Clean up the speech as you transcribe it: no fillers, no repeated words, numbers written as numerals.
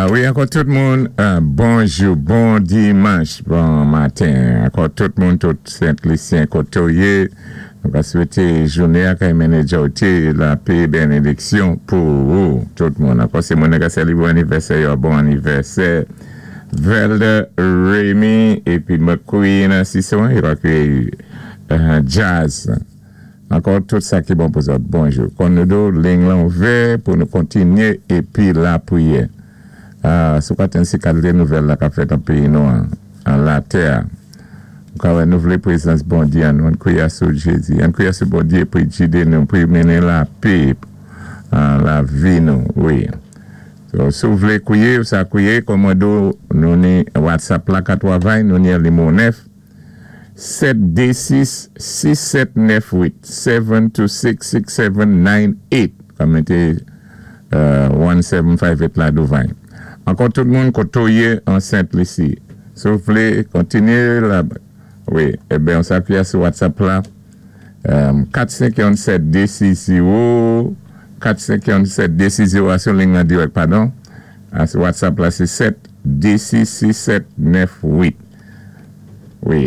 Wi, ankò tout moun, bonjou, bon dimanch, bon maten. Ankò tout moun, tout Sent Lisyen koté ou yé, nou ka swété jouné a kay mennen lapé, benediksyon pou ou, tout moun. Ankò sé moun ka sélébwé anivèsè yo, bon anivèsè. Velda Remy épi McQueen Sisson, épi Jazz. Ankò tout sa ki bon pou zòt. Bonjou. Kon nou di ou, liy lan ouvè pou nou kontinyé épi lapriyè. Si ou ka si kalité nouvèl la k ap fèt an péyi nou an latè. Ka wè nou vlé prézans Bondyé an nou, ann kwiyé sou Jézi, ann kwiyé sou Bondyé pou gidé nou, pou mennen lapé an lavi nou, wi. So, si ou vlé kwiyé, ou sa kwiyé, kòm mwen di ou, nou ni WhatsApp la ka twavay, nou ni nimewo 9 726 6798, 726 6798, ka mété 1758 la douvan. Ankò tout moun koté ou yé an Sent Lisi. Si ou vlé kontinyé la, wi, ében, on sa kwiyé sou WhatsApp la, 457 260 457 260 a sou liy an dirèk, padon. A sou WhatsApp la, sé 7 26 67 98. Wi.